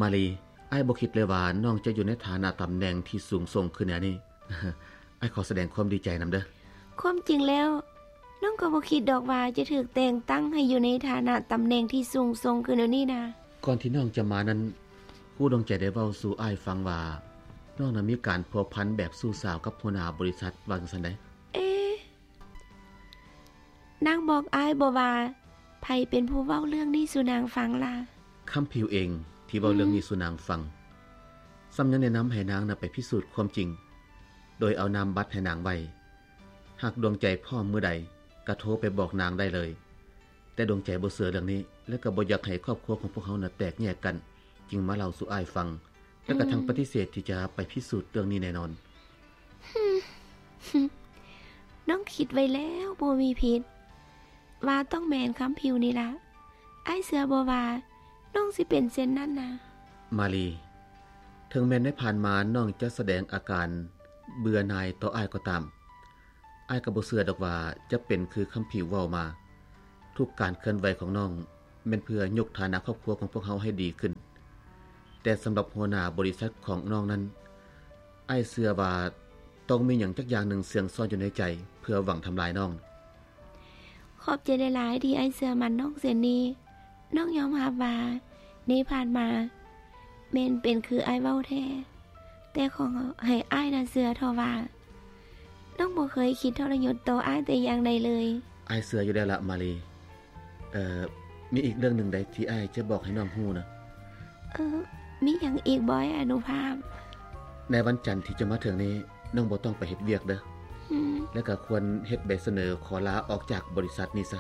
ມາລີ, ອ້າຍບໍ່ຄິດເລີຍວ່ານ້ອງຈະຢູ່ໃນຖານະຕຳແໜ່ງທີ່ສູງສົ່ງຂຶ້ນແນວນີ້. ອ້າຍຂໍສະແດງຄວາມດີໃຈນຳເດີ້. ຄວາມຈິງແລ້ວ ນ້ອງກໍບໍ່ຄິດດອກວ່າຈະຖືກແຕ່ງຕັ້ງໃຫ້ຢູ່ໃນຖານະຕຳແໜ່ງທີ່ສູງສົ່ງຂຶ້ນແນວນີ້ນະ. ກ່ອນທີ່ນ້ອງຈະມານັ້ນ, ຄູດວງໃຈໄດ້ເວົ້າສູ່ອ້າຍຟັງວ່າ ນ້ອງນັ້ນມີການພົວພັນແບບຊູ້ສາວກັບຫົວໜ້າບໍລິສັດ ວ່າຈັ່ງຊັ້ນໃດ໋. ເອ ນາງບອກອ້າຍບໍ່ວ່າ ໃຜເປັນຜູ້ເວົ້າເລື່ອງນີ້ສູ່ນາງຟັງລະ? ຄຳຜິວເອງທີ່ເວົ້າເລື່ອງນີ້ສູ່ນາງຟັງ. ອືມ ຊ້ຳຍັງແນະນຳໃຫ້ນາງນະໄປພິສູດຄວາມຈິງ ໂດຍເອົານາມບັດໃຫ້ນາງໄວ້. ຫາກດວງໃຈພ້ອມມື້ໃດ ກະໂທໄປບອກນາງໄດ້ເລີຍ. ແຕ່ດວງໃຈບໍ່ເຊື່ອເລື່ອງນີ້ ແລະ ກໍບໍ່ຢາກໃຫ້ຄອບຄົວຂອງພວກເຮົານະແຕກແຍກກັນ, ຈຶ່ງມາເລົ່າສູ່ອ້າຍຟັງ ແລະ ກໍທັງປະຕິເສດທີ່ຈະໄປພິສູດເລື່ອງນີ້ແນ່ນອນ. ນ້ອງຄິດໄວ້ແລ້ວບໍ່ມີຜິດ ວ່າຕ້ອງແມ່ນຄຳຜິວນີ້ລະ. ອ້າຍເຊື່ອບໍ່ວ່ານ້ອງຊິເປັນເຊັ່ນນັ້ນນະ? ມາລີ, ເຖິງແມ່ນໃນຜ່ານມານ້ອງຈະສະແດງອາການເບື່ອໜ່າຍຕໍ່ອ້າຍກໍຕາມ, ອ້າຍກໍບໍ່ເຊື່ອດອກວ່າຈະເປັນຄືຄຳຜິວເວົ້າມາ. ທຸກການເຄື່ອນໄຫວຂອງນ້ອງແມ່ນເພື່ອຍົກຖານະຄອບຄົວຂອງພວກເຮົາໃຫ້ດີຂຶ້ນ. ແຕ່ສຳລັບຫົວໜ້າບໍລິສັດຂອງນ້ອງນັ້ນ, ອ້າຍເຊື່ອວ່າຕ້ອງມີຫຍັງຈັກຢ່າງໜຶ່ງເຊື່ອງຊອນຢູ່ໃນໃຈ ເພື່ອຫວັງທຳລາຍນ້ອງ. ຂອບໃຈຫຼາຍໆທີ່ອ້າຍເຊື່ອໝັ້ນນ້ອງເຊັ່ນນີ້. ນ້ອງຍອມຮັບວ່າໃນຜ່ານມາແມ່ນເປັນຄືອ້າຍເວົ້າແທ້, ແຕ່ຂໍໃຫ້ອ້າຍນະເຊື່ອເຖາະວ່າ ນ້ອງບໍ່ເຄີຍຄິດທໍລະຍົດຕໍ່ອ້າຍແຕ່ຢ່າງໃດເລີຍ. ອ້າຍເຊື່ອຢູ່ແລ້ວລະ ມາລີ. ເອີ ມີອີກເລື່ອງໜຶ່ງໃດທີ່ອ້າຍຈະບອກໃຫ້ນ້ອງຮູ້ນະ? ເອີ ມີຫຍັງອີກບໍ່ ອ້າຍອະນຸພາບ? ໃນວັນຈັນທີ່ຈະມາເຖິງນີ້ ນ້ອງບໍ່ຕ້ອງໄປເຮັດວຽກເດີ້. ອືມ ແລະ ກໍຄວນເຮັດໃບສະເໜີຂໍລາອອກຈາກບໍລິສັດນີ້ຊະ.